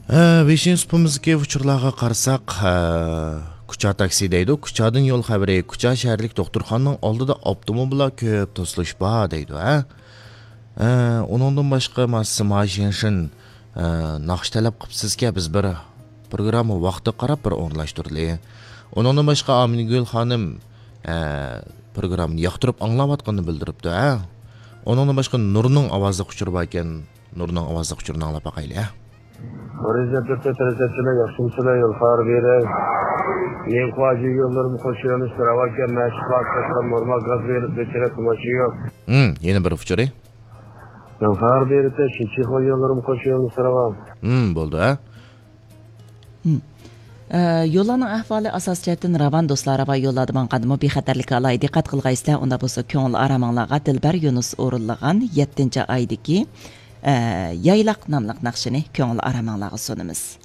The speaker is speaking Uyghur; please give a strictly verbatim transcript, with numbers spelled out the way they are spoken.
ھە، ۋېشىن سۇپىمىزدىكى ئۇچۇرلارغا قارىساق، ھە، كۇچا تاكسى دەيدۇ، كۇچادىن يول خەۋىرى، كۇچا شەھەرلىك دوختۇرخانىنىڭ ئالدىدا ئاپتوموبىللار كۆپ توسۇلۇش بار دەيدۇ، ھە. ھە، ئۇنىڭدىن باشقا، ما-، سىما شىنشىن، ھە، ناخشا تەلەپ قىپسىزكە، بىز بىر پروگرامما ۋاقتىغا قاراپ بىر ئورۇنلاشتۇرىلى. ئۇنىڭدىن باشقا، ئامىنگۈل خانىم، ھە، پروگراممىنى ياقتۇرۇپ ئاڭلاۋاتقىنىنى بىلدۈرۈپتۇ، ھە. ئۇنىڭدىن باشقا، نۇرنىڭ ئاۋازلىق ئۇچۇرى باركەن، نۇرنىڭ ئاۋازلىق ئۇچۇرىنى ئاڭلاپ باقايلى، ھە. رىزا تۆتتە تەرىزەتچىلەر ياخشىمۇسىلەر يول خەۋەر بېرەي. مېنىڭ خۇاجى يوللىرىم خوش يۆنىلىشلەر ئاۋاركەن مەشىق ۋاقىتلاشقان نورمال گاز بېرىپ بېچىرە تۇماشى يوق. ھىم، يەنە بىر ئۇچۇرى. يول خەۋەر بېرىتە شىنچىخۇا يوللىرىم خوش يۆنىلىشلەر ئاۋا. ھىم، بولدى، ھە. ھىم. ئە، يوللارنىڭ ئەھۋالى ئاساسىي جەھەتتىن راۋان دوستلار، راۋان يوللاردا ماڭغاندىمۇ بىخەتەرلىككە ئالاھىدە دىققەت قىلغايسىلەر، ئۇنداق بولسا كۆڭۈل ئارامىڭلارغا دىلبەر يۇنۇس ئورۇنلىغان يەتتىنچى ئايدىكى، ئە، يايلاق ناملىق ناخشىنى كۆڭۈل ئارامىڭلارغا سۇنىمىز.